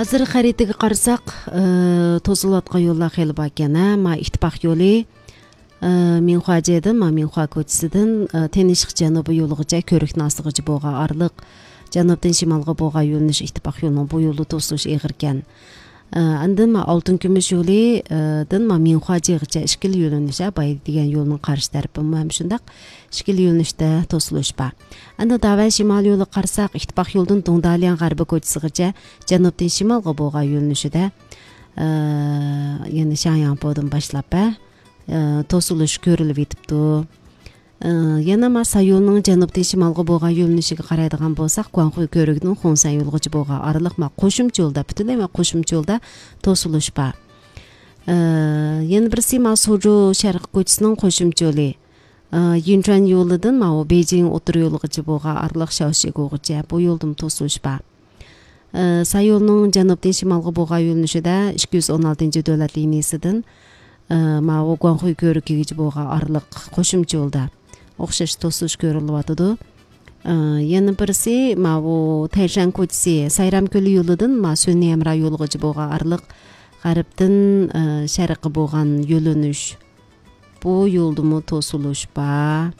азыр харитиге карасак, тосулуп аткан жолдор хели бар экен. Иттифак жолу Минхуажеден, Минхуа көчөсүдөн Тенишик жаныбы жолугача Көрүктүн астыгыча болгон арлык жаныбдан шималга болгон юлунуш Иттифак жолунун бу жолу тосулуш эгер экен. Андан Алтын күмүш жолудан Минхуажегача ишкил юлунуш бай деген жолдун каршы тарапы ушундак ишкил юлунушта тосулуш бар. Анда Даван шимал жолу карасак, Иттифак жолдун Дуңдалиян гарбы көчөсүгача жаныбдан шималга болгон юлунушуда Шаңяңподон башлап тосулуш көрүлүп атыптыр. Яна Сайолнун жаныбдан шималга болгон юлунушуга карайдыган болсак, Куанхуй Көрүгүнүн Хонсан юлгучу болгон аралык кошумча жолдо, бүтүнөй кошумча жолдо тосулуш бар. Яна бирси Сужу Шаркы көчөсүнүн кошумча жолу, Юнчан жолудан Бейжиң отур юлгучу болгон аралык Шаошигугача бу жолдун тосулуш бар. Сайолнун жаныбдан шималга болгон юлунушуда 216-дөөлөт линиясынан Куанхуй Көрүгүгө болгон аралык кошумча жолдо окшош тосулуш көрүлүп атыды. Яна бирси Тайшан көчөсү Сайрам көлү юлудан Сөнөэмра юлгучу болгон аралык гарыптын шаркы болгон юлунуш. Бу жолдуму тосулуш бар.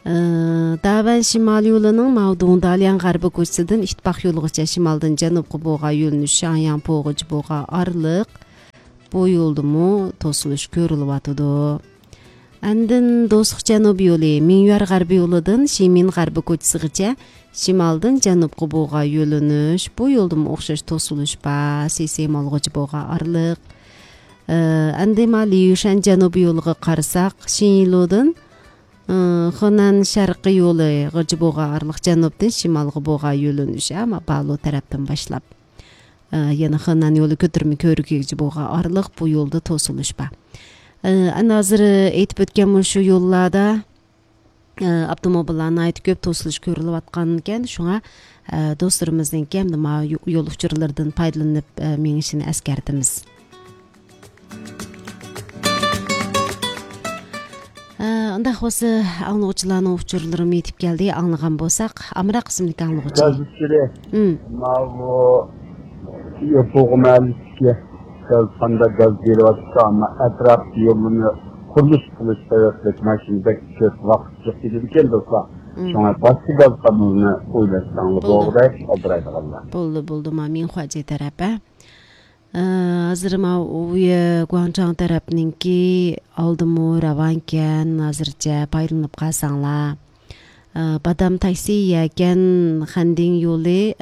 Даван шимал юлунун Дуңдалиян гарбы көчөсүдөн Иттифак юлугача шималдын жаныбкы болгон юлунуш Шаңяңпогочу болгон аралык бу жолдуму тосулуш көрүлүп атыды. Андан Достук жаныбы жолу Минюар гарбы юлудан Шимин гарбы көчөсүгача шималдын жаныбкы болгон юлунуш. Бу жолдуму окшош тосулуш бар, Сейсем алгычы болгон аралык. Анда Лиюшан жаныбы жолуга карасак, Шинилодон Хонан шаркы жолу гыжы болгон аралык жаныбдан шималга болгон юлунуш Баалуу тараптан башлап Яна Хонан жолу көтөрмө Көрүгүгө болгон аралык бу жолдо тосулуш бар. Ана азыр айтып өткөн ушу жолларда автомобилдин айты көп тосулуш көрүлүп аткан экен. Шуңа досторубуздун кем жол учурлардан пайдаланып меңишин эскертебиз. Анда осы аңлоочулардын учурлары метип келди. Аңлаган болсак, Амра кызымдыкы аңлоочу. Panda gaz geliyor ama etraf yolunu kuruluş sebepli maşinede çok vakit geçirdiğim dostlar. Şuna başka gaz kanalını uygularsanız doğrudan obraydı Allah. Buldu Minhuaje tarafı. Azır uya Guangzhou tarafınınki aldımı ravanken azırca paylanıp kalsanlar. Badam taksi yaken Handing yolu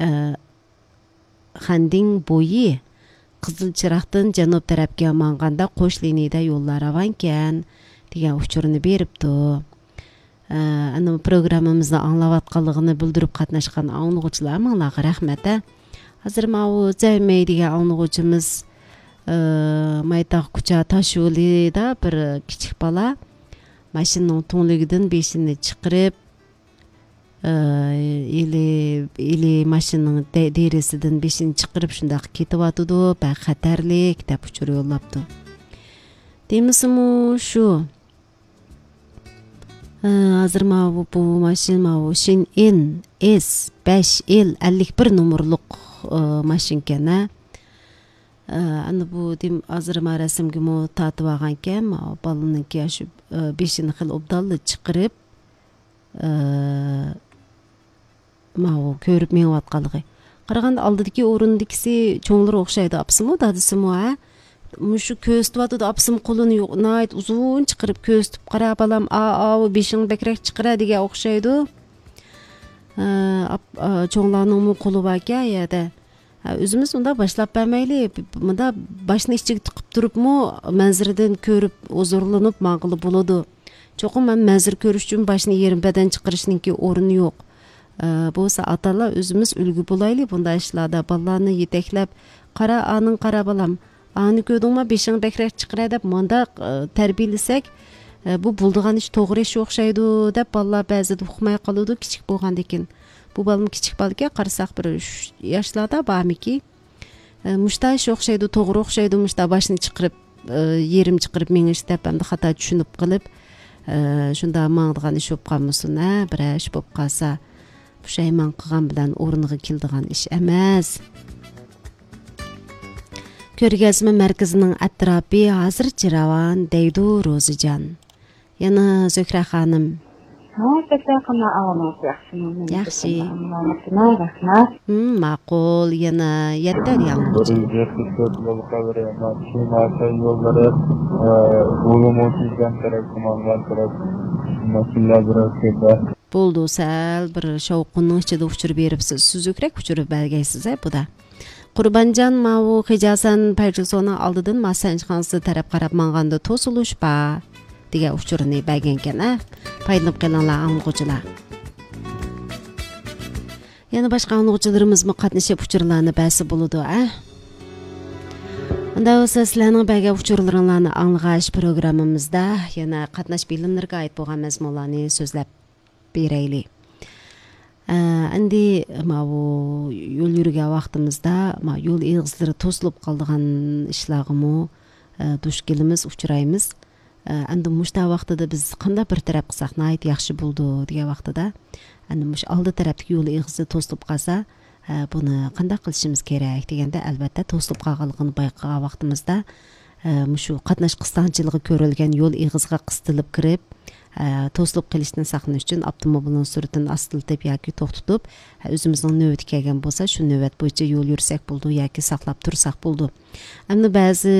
Handing boyu Кызыл чырактын жанып тарапка манганда кош линияда жоллор аван экен деген учурун бериптир. Аны программабызды аңлап атканлыгын билдирип катнашкан аңлоочулар маңларга рахмат. Азыр Займей деген аңлоочубуз Майтак Куча Ташуулда бир кичик бала машинанын туңлугунан бешини чыкырып или машинанын дээресиден бешин чыкырып шундак кетип атыды. Бак катарлык деп учур жоллаптыр. Демисиму ушу азыр бул машина Шин Н S5L 51 номерлук машина экен. Аны бу азыр расымгы татып алган экен. Баланыңки ашу бешини кыл обдалды чыкырып көрүп меңип атканлыгы. Караганда алдыдагы орундукиси чоңлор окшойду. Апсымы дадысымы мушу көзтүп атыды. Апсым колун найт узун чыкырып көзтүп кара балам бешиң бекерек чыкыра деген окшойду. Чоңларнын колу бар экен яда. Өзүбүз мында башлап бермейли. Мында башын ичиге тыгып турупму манзирден көрүп озорлонуп маңгылы болоду. Чокум мен манзир көрүш үчүн башын еримбеден чыкырышныңки орunu жок. Болса аталар өзүбүз үлгү болайлы bunday ишларда. Баланы жетеклеп, кара анын кара балам, аны көрдүңмү бешиң бекерек чыкыра деп мында тарбиялесек, бу булдуган иш тогур иш окшойду деп балалар базыда укмай калууда кичик болгондон кийин. Бу балам кичик бала экен, карасак бир 3 жаштарда бармыки. Мушта иш окшойду, тогур окшойду, мушта башын чыкырып, ерим чыкырып меңиш деп анда хата түшүнүп кылып, шунда маңдыган иш болуп калмасын, бир иш болуп калса, пушайман кылган менен орунга келдиган иш эмес. Көргөзмө мерkezinin atrapı азыр жыраван дейди Розыжан. Yana Zöhre ханым. Yaxshi. Ma'qul, yana yetter yangichi. Bo'ldi, sal bir shovqinning ichida uchirib beribsiz. Suzukrak uchirib bergaysiz, buda. Qurbanjon ma'u Hijasan Payjusoni oldidan masanjxonasi taraf qarab manganda to'silish ba degan uchurni bergan ekan, Paylinib qilinglar anglovchilar. Yana boshqa anglovchilarimizmi qatnashib uchurlarni bersa bo'ladi, Unda bo'lsa sizlarning bergan uchurlaringlarni anglash programmamizda yana qatnash bilimlariga oid bo'lgan mazmunlarni so'zlab beraylik. Endi bu yo'l yurgan vaqtimizda yo'l egizlari to'silib qolgan ishlarga duch kelamiz, uchraymiz. Endi mushta vaqtida biz qanday bir taraf qilsak nayt yaxshi bo'ldi degan vaqtida, endi mush oldi tarafdagi yo'l egizi to'silib qolsa, buni qanday qilishimiz kerak deganda albatta to'silib qolganligini bayqagan vaqtimizda mushu qatnash qisqanchiligi ko'rilgan yo'l egiziga qistilib kirib, to'silib qilishdan saqlanish uchun avtomobilning sur'atini astiltib yoki to'xtatib, o'zimizning navbat kelgan bo'lsa, shu navbat bo'yicha yo'l yursak bo'ldi yoki saqlab tursak bo'ldi. Endi ba'zi